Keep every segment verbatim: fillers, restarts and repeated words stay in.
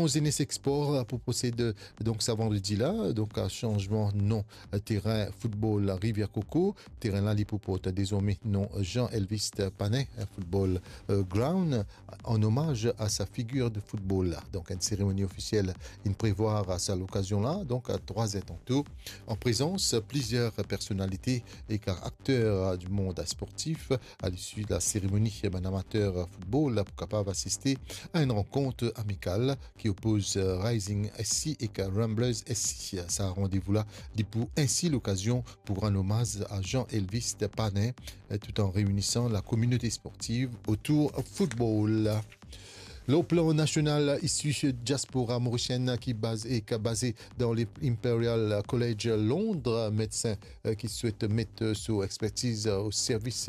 Jeunesse Export pou prosed, donk, sa vandredi la, donk, a sanzman non, terin foutbol Rivière Coco. Terin la, li pou port dezorme non Jean Elvis Panin Football, euh, Ground, an omaz a sa figir de foutbol la. Donk, enn seremoni ofisiel inn prevwar a sa lokazion la, donk, a trwa zer tanto, an prezans plizier personalite ek akter di mond sportif. A lisi la seremoni, bann amater foutbol la pou kapav asiste a enn rankont amikal ki opoz, euh, Rising S C ek Ramblers S C. Sa randevou la, li pou ensi lokazion pou rann omaz a Jean Elvis Panin, euh, tout an reinisan la kominote sportiv otour foutbol. Lor plan nasional, isi diaspora morisienn ki baze, ki baze dan le Imperial College Londres, medsin, euh, ki swet met, euh, so expertiz, euh, o servis,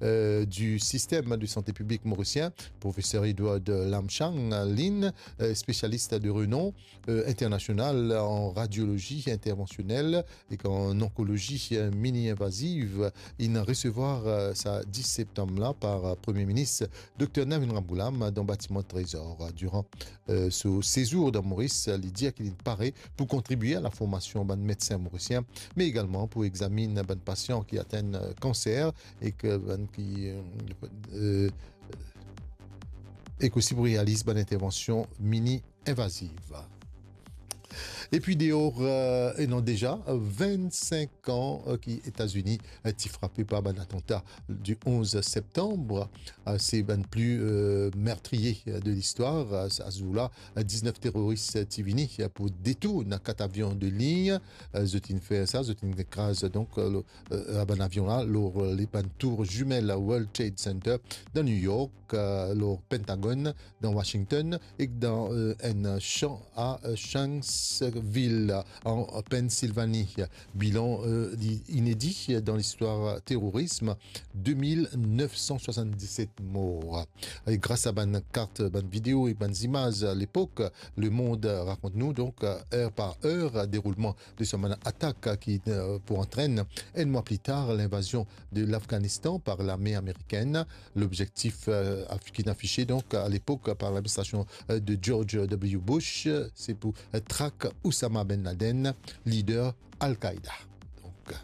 euh, di sistem de sante piblik morisien, profeser Edward Lamchang Lin, euh, spesialis de renom, euh, internasional an radiolozi intervansionel ek an onkolozi, euh, mini-invaziv, inn resevwar, euh, sa dis septanm la par, euh, Premie Minis Dokter Navin Ramgoolam dan batiman Trezor. Diran, euh, so sezour dan Moris, li dir ki li pare pou kontribie a laformasion bann medsin morisien, me egalman pou examinn bann pasian ki atenn, euh, kanser ek bann ki, euh, euh, ek osi pou realiz bann intervansion mini-invaziv. Epi deor, euh, e non deza, euh, vennsink an, euh, ki Etazini, euh, ti frape par bann atanta di onz septanm, euh, se bann pli, euh, mertriye, euh, de listwar. Euh, sa zour la, euh, diznef teroris, euh, ti vini, euh, pou detourn kat avion de lign. Euh, zot inn fer sa, zot inn kraz, donk, euh, lo, euh, bann avion la, lor, euh, le bann tour zimel World Trade Center dan New York, euh, lor Pentagon dan Washington ek dan, euh, enn san a, euh, Shanksville, an Pennsylvanie. Bilan, euh, li inedi dan listwar terorism, de mil nef san swasann-diset mor. E gras a bann kart, bann video e bann zimaz lepok, lemond rakont nou, donk, er par er, deroulman de sa bann atak ki, euh, pou antrenn enn mwa pli tar linvazion de Lafganistan par lame amerikenn. Lobzektif, euh, af-, ki inn afise, donk, a lepok par ladministrasion, euh, de George W Bush, euh, se pou, euh, trak Osama Ben Laden, lider Al-Qaida. Donk, euh,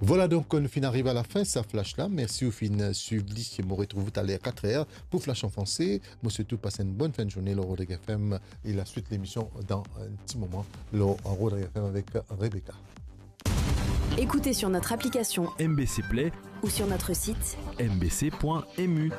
vwala, donk, nou finn ariv a lafin sa flash la. Mersi ou finn swiv li. Mo retrouv ou taler kat er pou Flash an Franse. Mo swet ou pas enn bonn fin de zourne lor Rodrig F M e laswit lemision dan enn ti moman lor Rodrig F M avek Rebecca. Écoutez sur notre application M B C Play ou sur notre site M B C point M U.